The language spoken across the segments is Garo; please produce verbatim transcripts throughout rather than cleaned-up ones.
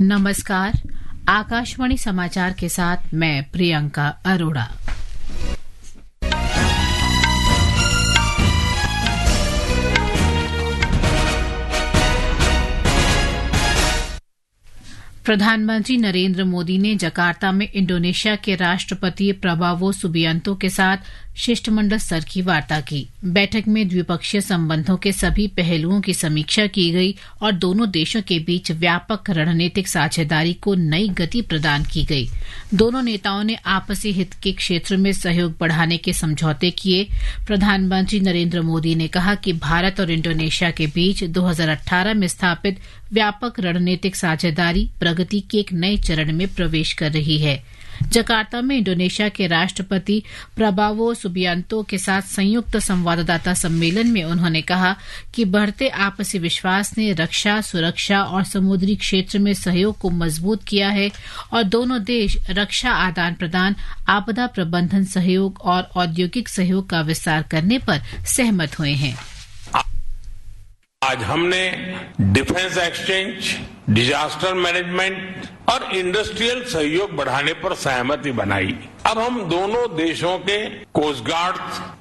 नमस्कार, आकाशवाणी समाचार के साथ मैं प्रियंका अरोड़ा। प्रधानमंत्री नरेंद्र मोदी ने जकार्ता में इंडोनेशिया के राष्ट्रपति प्रबावो सुबियांतो के साथ शिष्टमंडल स्तर की वार्ता की। बैठक में द्विपक्षीय संबंधों के सभी पहलुओं की समीक्षा की गई और दोनों देशों के बीच व्यापक रणनीतिक साझेदारी को नई गति प्रदान की गई। दोनों नेताओं ने आपसी हित के क्षेत्र में सहयोग बढ़ाने के समझौते किए। प्रधानमंत्री नरेंद्र मोदी ने कहा कि भारत और इंडोनेशिया के बीच दो हज़ार अठारह में स्थापित व्यापक रणनीतिक साझेदारी प्रगति के एक नए चरण में प्रवेश कर रही है। जकार्ता में इंडोनेशिया के राष्ट्रपति प्रबावो सुबियांतो के साथ संयुक्त संवाददाता सम्मेलन में उन्होंने कहा कि बढ़ते आपसी विश्वास ने रक्षा, सुरक्षा और समुद्री क्षेत्र में सहयोग को मजबूत किया है और दोनों देश रक्षा आदान प्रदान, आपदा प्रबंधन सहयोग और औद्योगिक सहयोग का विस्तार करने पर सहमत हुए हैं। आज हमने डिफेंस एक्सचेंज, डिजास्टर मैनेजमेंट और इंडस्ट्रियल सहयोग बढ़ाने पर सहमति बनाई। अब हम दोनों देशों के कोस्ट गार्ड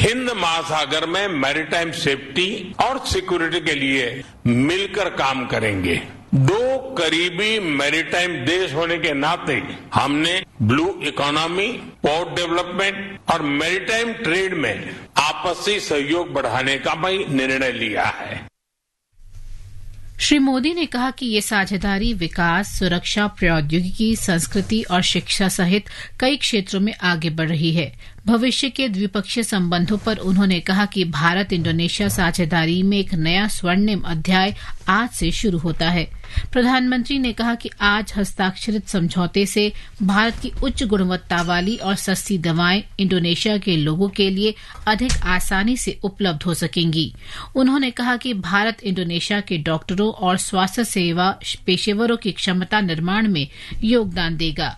हिंद महासागर में मैरीटाइम सेफ्टी और सिक्योरिटी के लिए मिलकर काम करेंगे। दो करीबी मैरीटाइम देश होने के नाते हमने ब्लू इकोनॉमी, पोर्ट डेवलपमेंट और मैरीटाइम ट्रेड में आपसी सहयोग बढ़ाने का भी निर्णय लिया है। श्री मोदी ने कहा कि ये साझेदारी विकास, सुरक्षा, प्रौद्योगिकी, संस्कृति और शिक्षा सहित कई क्षेत्रों में आगे बढ़ रही है। भविष्य के द्विपक्षीय संबंधों पर उन्होंने कहा कि भारत इंडोनेशिया साझेदारी में एक नया स्वर्णिम अध्याय आज से शुरू होता है। प्रधानमंत्री ने कहा कि आज हस्ताक्षरित समझौते से भारत की उच्च गुणवत्ता वाली और सस्ती दवाएं इंडोनेशिया के लोगों के लिए अधिक आसानी से उपलब्ध हो सकेंगी। उन्होंने कहा कि भारत इंडोनेशिया के डॉक्टरों और स्वास्थ्य सेवा पेशेवरों की क्षमता निर्माण में योगदान देगा।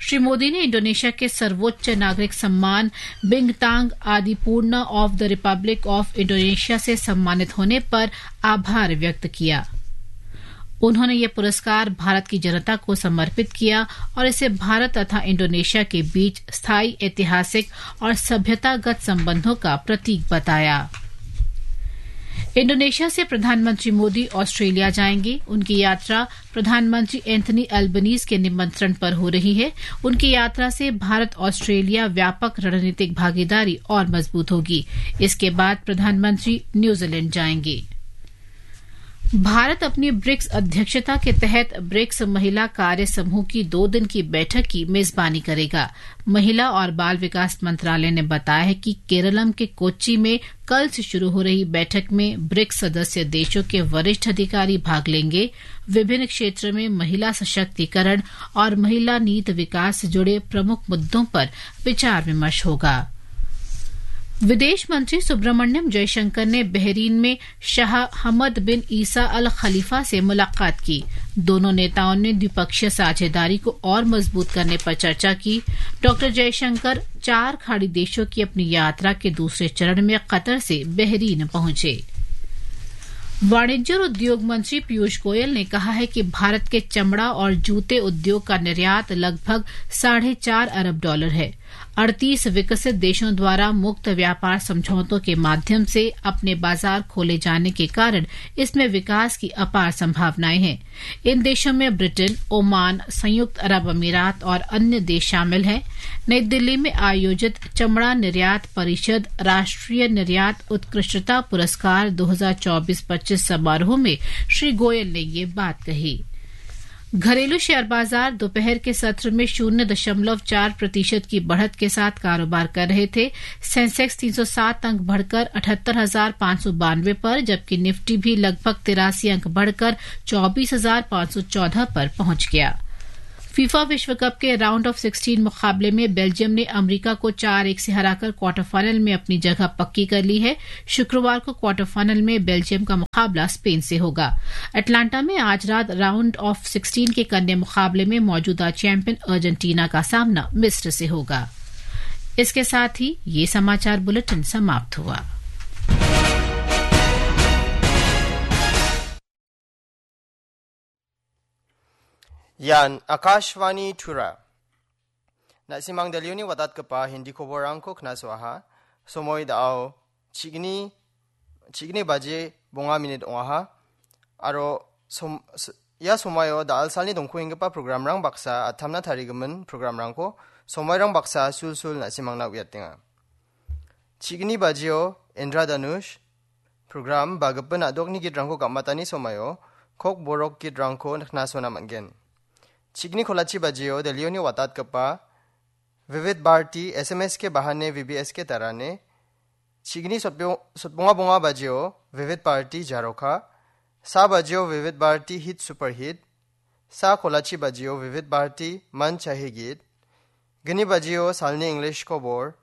श्री मोदी ने इंडोनेशिया के सर्वोच्च नागरिक सम्मान बिंगतांग आदिपूर्णा of the Republic of Indonesia से सम्मानित होने पर आभार व्यक्त किया। उन्होंने ये पुरस्कार भारत की जनता को समर्पित किया और इसे भारत तथा इंडोनेशिया के बीच स्थायी ऐतिहासिक और सभ्यतागत संबंधों का प्रतीक बताया। इंडोनेशिया से प्रधानमंत्री मोदी ऑस्ट्रेलिया जाएंगे। उनकी यात्रा प्रधानमंत्री एंथनी अल्बनीज के निमंत्रण पर हो रही है। उनकी यात्रा से भारत ऑस्ट्रेलिया व्यापक रणनीतिक भागीदारी और मजबूत होगी। इसके बाद प्रधानमंत्री न्यूजीलैंड जाएंगे। भारत अपनी ब्रिक्स अध्यक्षता के तहत ब्रिक्स महिला कार्य समूह की दो दिन की बैठक की मेजबानी करेगा। महिला और बाल विकास मंत्रालय ने बताया है कि केरलम के कोच्चि में कल से शुरू हो रही बैठक में ब्रिक्स सदस्य देशों के वरिष्ठ अधिकारी भाग लेंगे। विभिन्न क्षेत्र में महिला सशक्तिकरण और महिला नीति विकास से जुड़े प्रमुख मुद्दों पर विचार विमर्श होगा। विदेश मंत्री सुब्रमण्यम जयशंकर ने बहरीन में शाह हमद बिन ईसा अल खलीफा से मुलाकात की। दोनों नेताओं ने द्विपक्षीय साझेदारी को और मजबूत करने पर चर्चा की। डॉक्टर जयशंकर चार खाड़ी देशों की अपनी यात्रा के दूसरे चरण में कतर से बहरीन पहुंचे। वाणिज्य और उद्योग मंत्री पीयूष गोयल ने कहा है कि भारत के चमड़ा और जूते उद्योग का निर्यात लगभग साढ़े चार अरब डॉलर है। अड़तीस विकसित देशों द्वारा मुक्त व्यापार समझौतों के माध्यम से अपने बाजार खोले जाने के कारण इसमें विकास की अपार संभावनाएं हैं। इन देशों में ब्रिटेन, ओमान, संयुक्त अरब अमीरात और अन्य देश शामिल हैं। नई दिल्ली में आयोजित चमड़ा निर्यात परिषद राष्ट्रीय निर्यात उत्कृष्टता पुरस्कार दो हज़ार चौबीस पच्चीस समारोह में श्री गोयल ने ये बात कही। घरेलू शेयर बाजार दोपहर के सत्र में शून्य दशमलव चार प्रतिशत की बढ़त के साथ कारोबार कर रहे थे। सेंसेक्स तीन सौ सात अंक बढ़कर अठहत्तर हजार पाँच सौ बानवे पर, जबकि निफ्टी भी लगभग तिरासी अंक बढ़कर चौबीस हजार पाँच सौ चौदह पर पहुंच गया। फीफा विश्व कप के राउंड ऑफ सिक्सटीन मुकाबले में बेल्जियम ने अमेरिका को चार एक से हराकर क्वार्टर फाइनल में अपनी जगह पक्की कर ली है। शुक्रवार को क्वार्टर फाइनल में बेल्जियम का मुकाबला स्पेन से होगा। अटलांटा में आज रात राउंड ऑफ सिक्सटीन के कन्या मुकाबले में मौजूदा चैंपियन अर्जेंटीना का सामना मिस्र से होगा। इसके साथ ही ये समाचार बुलेटिन समाप्त हुआ। Ian Akashvani Tura. Na·simang Delhioni watatgipa Hindi koborrangko knasoaha. Somoi da·ao chigni, chigni baji bonga minit ong·aha. Aro som-, s-, ia somoio da·alsalni dongkuenggipa programrang baksa atamna tarigimin programrangko somoirang baksa sulsul na·simangna uiatenga. Chigni bajio Indra Danush program ba gipin a·dokni gitrangko gam·atani somoio kok borok gitrangko knasona man·gen. Chigni kolachi bajio Delhioni watatgipa Vivid Bharati S M S ke bahane V B S ke tarane. Chigni sotbio-, sotbonga bonga bajio Vivid Bharati Jaroka. Sa bajio Vivid Bharati Hit Super Hit. Sa kolachi bajio Vivid Bharati Man Chahe Geet. Gni bajio salni English kobor.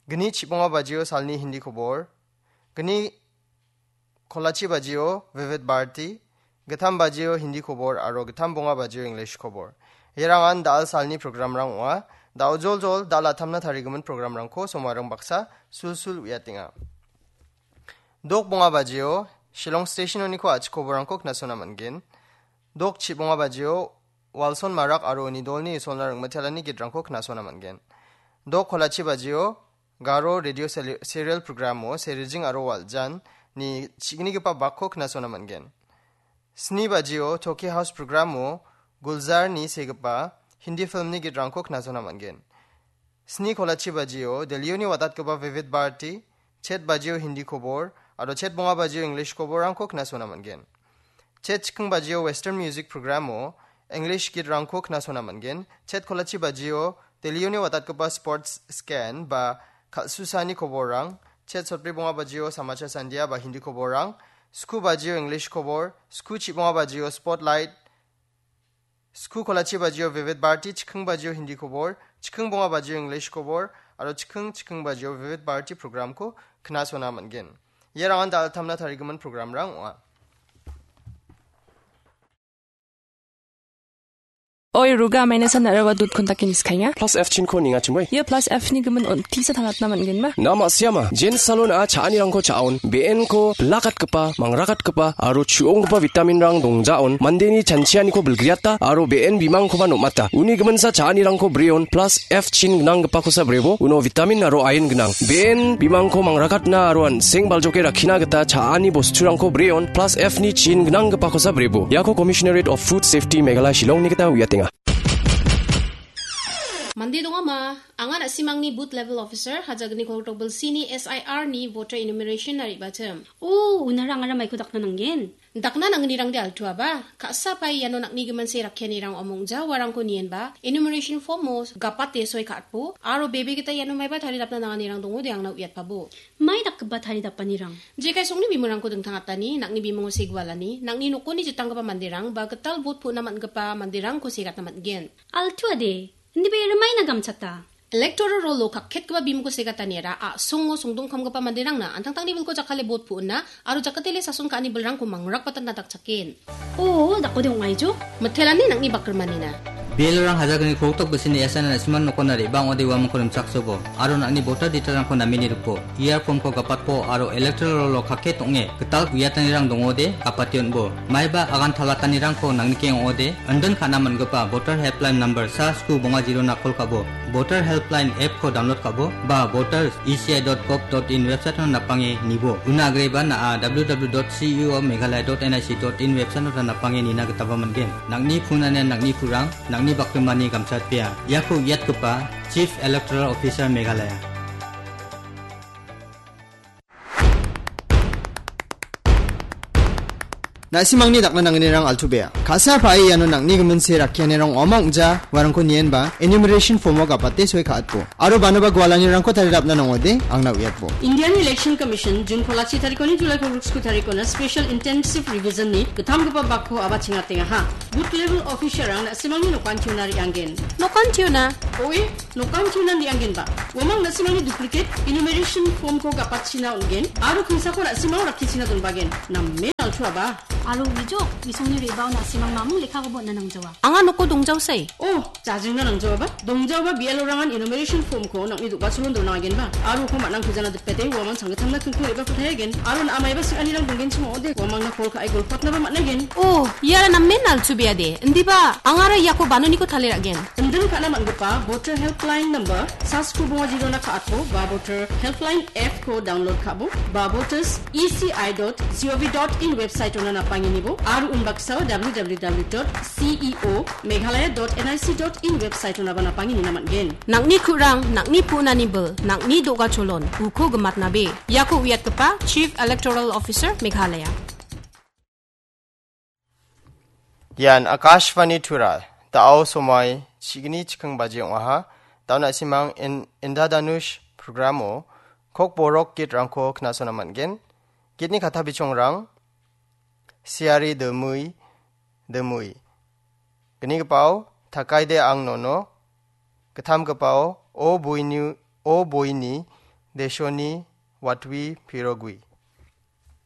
Gni chibonga bajio salni Hindi kobor. Gni kolachi bajio Vivid Bharati. Gittam bajio Hindi kobor aro gittam bonga bajio English kobor. Ierangan da·al salni programrang ong·a. Da·o joljol da·al atamna tarigimin programrangko somoirang baksa sulsul uiatenga. Dok bonga bajio Shillong Station-oniko a·chik koborrangko knasona man·gen. Dok chibonga bajio Walson Marak aro uni dolni isolna ringmitelani gitrangko knasona man·gen. Dok kolachi bajio Garo Radio Seri-, Serial Programo Serijing aro Waljan ni chignigipa bakko knasona man·gen. Sni bajio Toki House Programo Gulzar ni segipa Hindi filmni gitrangko knasona man·gen. Sni kolachi bajio Delhioni watatgipa Vivid Bharati, chet bajio Hindi kobor, aro chet bonga bajio English koborrangko knasona man·gen. Chet chikking bajio Western Music Programo English gitrangko knasona man·gen. Chet kolachi bajio Delhioni watatgipa Sports Scan ba kal·susani koborrang. Chet sotbri bonga bajio Samachar Sandia ba Hindi koborrang. Sku bajio English kobor. Sku chibonga bajio Spotlight. Sku kolachi bajio Vivid Bharati, chikking bajio Hindi kobor, chikking bonga bajio English kobor, aro chikking chikking bajio Vivid Bharati programko knasona man·gen. Ierangan da·al atamna tarigimin programrang ong·a. Oi, Ruga, maina san narawa dut kontak inis kainga. Plus F chinko ninga chimoi. Ia plus F ni gimin on tisa tangatna man·gen ma? Nama siama, Jen Salon a cha·anirangko cha·on, B N ko bilakatgipa, mangrakatgipa, aro chu·onggipa vitaminrang dongjaon, mandeni chanchianiko bilgriata, aro B N bimangkoba nom·ata. Uni giminsa cha·anirangko breon, plus F chin gnanggipakosa brebo, uno vitamin aro iron gnang. B N bimangko mangrakatna aro an·seng baljoke rakkina gita cha·ani bosturangko breon, plus F ni chin gnanggipakosa brebo. Iako Commissionerate of Food Safety Meghalaya Shillongni gita uiatenga. Mande dongama, anga na·simangni booth level officer, hajagni koltok bilsini S I R ni voter enumeration na re·bachim. O, unara angara maiko dakna nanggen. Dakna nangnirangde altuaba, ka·sa pai iano nang·ni gimin se rakkianirang omongja uarangko nienba, enumeration form-o gapate soi ka·atbo, aro bebe gita iano maiba taridapna nanganirang dongode angna uiatpabo. Mai dakgipa taridapanirang? Jekai songni bimungrangko dingtangatani, nang·ni bimungo segualani, nang·ni nokoni jitanggipa manderang, ba gital bot pu·na man·gipa manderangko segatna man·gen. Altuade, indibe rimaina gamchata. Electoral roll-o kakketgipa bimungko segataniara a·songo songdongkamgipa manderangna an·tangtangni bilko jakkale bot pu·na aro jakatele sason ka·ani bilrangko mangrakbatatna dakchaken. O, dakode ong·aijo? Mitelani nang·ni bakrimanina. Belorang hajagni koltok bisini S N N na·siman nokona re·bang ode uamangko rimchaksobo, aro nang·ni voter detail-rangko namini ripo. E R form-ko gapatpo aro electoral roll-o kakket ong·e gital uiatanirang dongode gapate on·bo. Maiba agan talatanirangko nangnikeng ong·ode, indin ka·na man·gipa voter helpline number sa sku bonga zero-na call ka·bo. Voter helpline app-ko download ka·bo, ba voters E C I dot gov dot in website-o napange nibo. Una agreba na·a W W W dot C E O Meghalaya dot N I C dot in website-o napange nina gitaba man·gen. Nang·ni phone-ani nang·ni purang, nang·ni bakrimani gamchatbea. Iako uiatgipa Chief Electoral Officer Meghalaya. Na·simangni dakna nangnirang altu bea. Ka·sa pa·e iano nang·ni gimin se rakkianirang ong·a ong·ja, uarangko nienba, enumeration form-o gapate soi ka·atbo. Aro banoba gualanirangko taridapna nangode, angna uiatbo. Indian Election Commission, June kolachi tarikoni July kolgriksku tarikona Special Intensive Revision-ni gittamgipa bakko aba chingatengaha. Booth level officer-rang na·simangni nokan tiuna re·angen. Nokan tiuna? Oe, nokan tiuna re·angenba. Uamang na·simangni duplicate enumeration form-ko gapatchina on·gen, aro kingsako na·simang rakkichina donbagen. Namen altuaba. Aro uijok, isongni rebao na·simang mamung lekkakoba on·na nangjawa. Anga noko dongjaosai. Oh, jajingna nangjaoba? Dongjaoba B L O-rangan enumeration form-ko nang·ni do·gacholon dona agenba. Aro uko man·ang pejana dipete, uamang sanggittamna kingko re·bako taia gen. Aro na·a maiba sing·anirang donggenchim ong·ode, uamangna call ka·e golpatnaba man·a gen. Oh, iara namen nalchubeade. Indiba, angara iako banoniko tale ra·gen. Inding ka·na man·gipa Voter Helpline number, sasko bonga jirona ka·atbo, ba Voter Helpline app-ko download ka·bo, ba voters E C I dot G O V dot in website-ona napangenibo, aro unbaksao W W W dot C E O Meghalaya dot N I C dot in website-onaba napangenina man·gen. Nang·ni ku·rang, nang·ni pu·nani bil, nang·ni do·gacholon, uko gimatnabe. Iako uiatgipa Chief Electoral Officer, Meghalaya. Ian Akashvani Tura, da·o somoi chigni chikking baji ong·aha. Da·o na·simang in-, Indra Danush programo Kokborok gitrangko knasona man·gen. Gitni kata bichongrang, Siari Demui, Demui. Gnigipao, Takaide Ang Nono. Gittamgipao, O Boini, O Boini, Deshoni, Watwi, Pirogwi.